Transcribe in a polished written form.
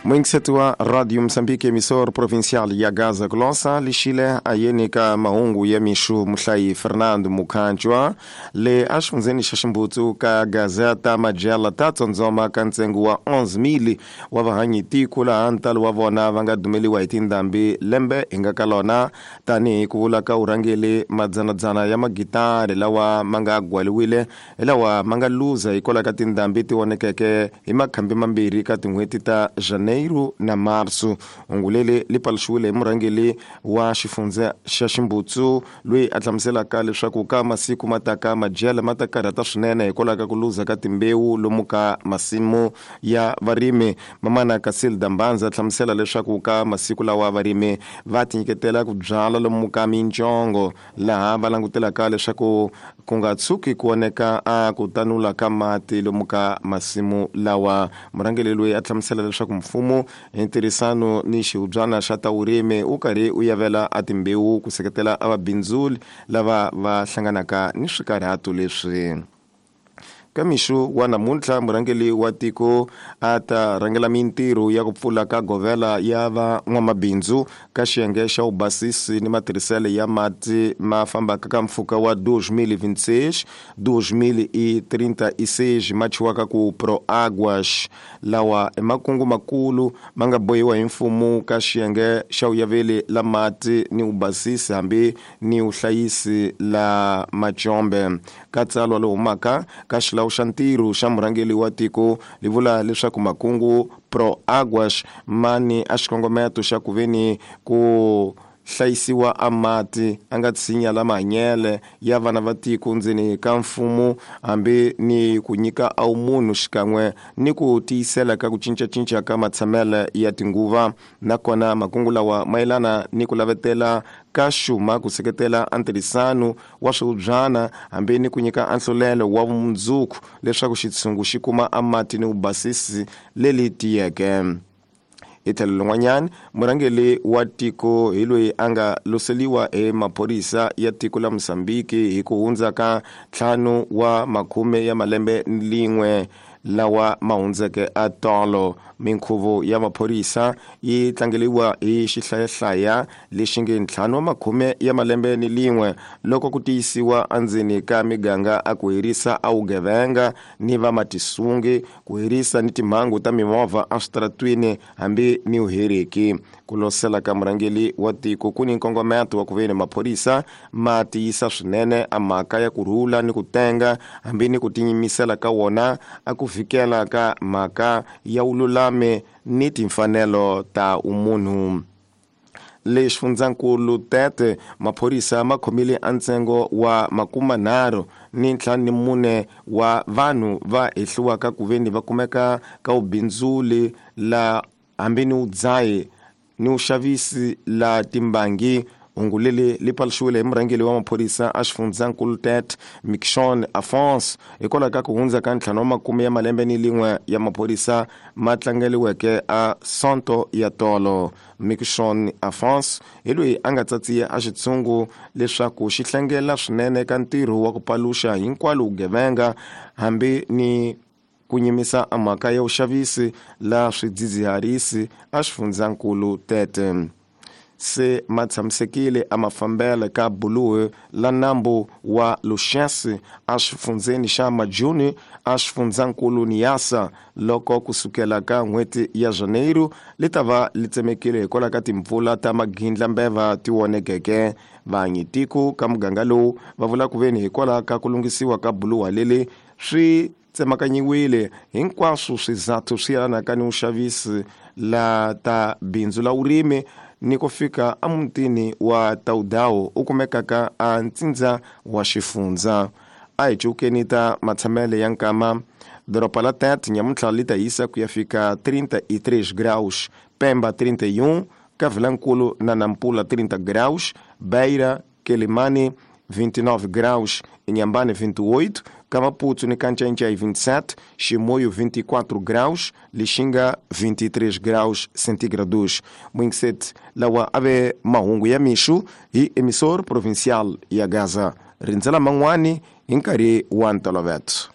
Muyingiseti wa Radio Mozambique, emissor provincial ya Gaza Glosa, lixile ayeni ka mahungu ya mixu muhlayi Fernando Mukhanjwa le exifundzheni xa Ximbutsu ka Gazeta Majela ta tsondzoma ka ntsengo wa 11,000 wa vahanyi tiko laha ntalo wa vona va nga dumeliwa hi tindhambi lembe hi nga ka lona tanihi ku vula ka urhangeli madzanadzana ya magitari lawa ma nga gwaliwile hi lawa ma nga luza hikwalaho ka tindhambi ti vonekeke hi makhambi mambirhi ka tin'hweti ta Janeiro na Marso. Hungu leri li paluxiwile hi murhangeri wa xifundza xa Ximbutsu loyi a hlamuselaka leswaku ka masiku ma taka madyele ma ta karhata swinene hikwalaho ka ku luza ka timbewu lomu ka masimu ya varimi. Mamana Casilda Mbanza hlamusela leswaku ka masiku lawa varimi va tinyiketela ku byala lomu ka mincongo laha va langutelaka leswaku ku nga tshuki ku oneka a ku tanula ka mati lomu ka masimu lawa. Murhangeri loyi a hlamusela leswaku mfumo hi ntirhisano ni xihubyana xa ta vurimi wu karhi wu yavela a timbewu ku seketela a vabindzuli lava va hlanganaka ni swikarhato leswi. Ka mixo wa namuntlha murhangeri wa tiko a ta rhangela mintirho ya ku pfula ka govela ya van'wamabindzu ka xiyenge xa vubasisi ni matirhiselo ya mati ma fambaka ka mpfhuka wa 2026 2036 ma thyiwaka ku Proáguas, lawa i makungu makulu ma nga bohiwa hi mfumo ka xiyenge xa vuyaveli la mati ni vubasisi hambi ni vuhlayisi la macombe. Ka tsalwa lowu humaka ka xilawu xa ntirho xa murhangeri wa tiko li vula leswaku makungu Proáguas ma ni a xikongometo xa ku veni ku hlayisiwa a mati a nga tshinya la mahanyele ya vana va tiko ndzeni ka mfumo hambi ni ku nyika a wumunhu xikan'we ni ku tiyisela ka ku cincacinca ka matshamele ya tinguva. Nakona makungu lawa mayelana ni ku lavetela ka xuma ku seketela a ntirhisano wa swihubyana hambi ni ku nyika anhlolelo wa vumundzuku leswaku xitshungu xi kuma a mati ni vubasisi leli tiyeke. Hi tlhelo lin'wanyana murhangeri wa tiko hi loyi a nga loseliwa hi maphorisa ya tiko la Mozambique hi ku hundza ka 5 wa makhume ya malembe ni lin'we lawa ma hundzeke a tolo. Minkhuvo ya maphorisa yi tlangeliwa hi xihlayahlaya lexi nge 5 wa makhume ya malembe ni lin'we loko ku tiyisiwa endzeni ka miganga a ku herisa a vugevenga ni vamatisungi, ku herisa ni timhangu ta mimovha eswitaratwini hambi ni vuheriki. Ku losela ka murhangeri wa tiko ku ni nkongometo wa ku veni maphorisa ma tiyisa swinene a mhaka ya ku rhula ni ku tenga hambi ni ku tinyimisela ka wona a ku fikela ka mhaka ya vululami ni timfanelo ta umunhu. Le xifundzankulu Tete maphorisa ma khomile a ntsengo wa 34 wa vanhu va hehliwaka ku veni va kumeka ka vubindzuli la hambi ni vudzahi ni vuxavisi la timbangi. Hungu leri li paluxiwile hi murhangeri wa maphorisa a xifundzankulu Tete Mikshon Afonso hikwalaho ka ku hundza ka 5 wa makume ya malembe ni lin'we ya maphorisa ma tlangeliweke a Sonto ya tolo. Mikshon Afonso hi loyi a nga tsatsiya a xitshungu leswaku xi hlengela swinene ka ntirho wa ku paluxa hinkwalo vugevenga hambi ni ku nyimisa a mhaka ya vuxavisi la swidzidziharisi a xifundzankulu Tete. Se ma tshamisekile a mafambele ka buluhi la nambu wa Luxense a xifundzeni xa Majuni a xifundzankulu Niassa loko kusukela ka n'hweti ya Janeiro li ta va li tsemekile hikwalaho ka timpfula ta magindlambeva ti vonekeke. Vanyi tiko ka muganga lowu va vula ku veni hikwalaho ka ku lunghisiwa ka buluha leli swi tsemakanyiwile hinkwaswo swizathu swi yelanaka ni vuxavisi la ta bindzu la vurimi ni ku fika emutini wa Taudao u kumekaka a ntsindza wa xifundza. A hi cukeni ta matshamele ya nkama. Doroba la Tete nyamuntlha li ta hisa ku ya fika 33 graus, Pemba 31, Cavilankulu na Nampula 30 graus, Beira, Quelimane 29 graus, Inhambane 28, Kamaputo ni Kanchanchay 27, Chimoio 24 graus, Lixinga 23 graus centígrados. Mwingiseti lawa ave mahungu ya mixu hi emissor provincial ya Gaza. Rindzela man'wani hi nkarhi wa ntolovelo.